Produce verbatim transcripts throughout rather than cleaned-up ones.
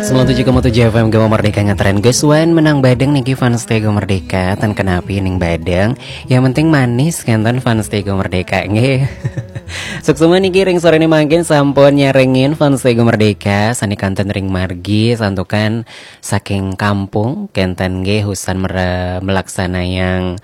Sembilan tujuh koma tujuh F M Gema Merdeka ngetren. Gus Wan menang badeng niki fans Tego Merdeka. Ten kenapi ning badeng. Yang penting manis kenten fans Tego Merdeka nggih. Suksma niki ring sore ini mangkin sampun nyarengin fans Tego Merdeka. Sani kanten ring margi santukan saking kampung kenten nggih usan mere- melaksanayang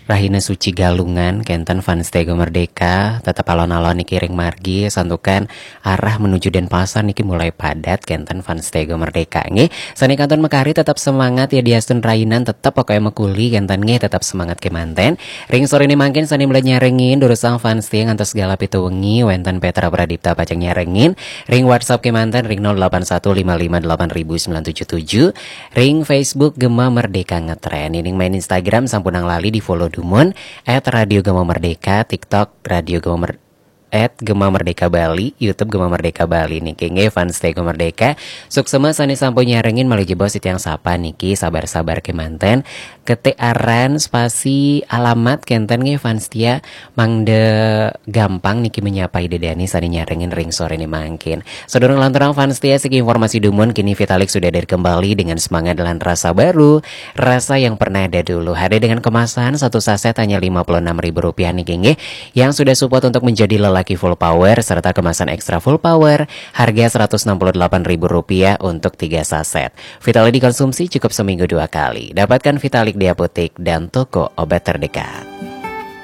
Rahina Suci Galungan kenten fans Tego Merdeka, tetap alon-alon niki ring margi santukan arah menuju Denpasar niki mulai padat kenten fans Tego Merdeka nggih. Sani kantun mekari tetap semangat ya diastun rainan tetap pokoknya mekuli kenten nggih tetap semangat kemanten. Ring sore ini mangkin sani mulai nyarengin durusang fans Tego ngantos segala pitu wengi wenten Petra Pradipta pacang nyarengin ring WhatsApp kemanten ring nol delapan satu lima lima delapan ribu sembilan tujuh tujuh. Ring Facebook Gema Merdeka Ngetren. Ining main Instagram sampunang lali di follow dumun at Radio Gema Merdeka, TikTok Radio Gema Mer- at Gema Merdeka Bali, YouTube Gema Merdeka Bali niki nggih fans Tego Merdeka. Suksma sani sampun nyarengin malih jebos titiang sapa niki sabar-sabar kemanten. Ketik aran spasi alamat kenten nggih fans tia mangde gampang niki menyapa ida dani sani nyarengin ring sore ini mangkin. Sedurung lanturang fans tia segi informasi dumun kini Vitalik sudah hadir kembali dengan semangat dan rasa baru, rasa yang pernah ada dulu. Hadir dengan kemasan satu saset hanya lima puluh enam ribu rupiah niki nggih yang sudah support untuk menjadi lelaki full power serta kemasan extra full power harga seratus enam puluh delapan ribu rupiah untuk tiga saset. Vitalik dikonsumsi cukup seminggu dua kali. Dapatkan Vitalik di apotek dan toko obat terdekat.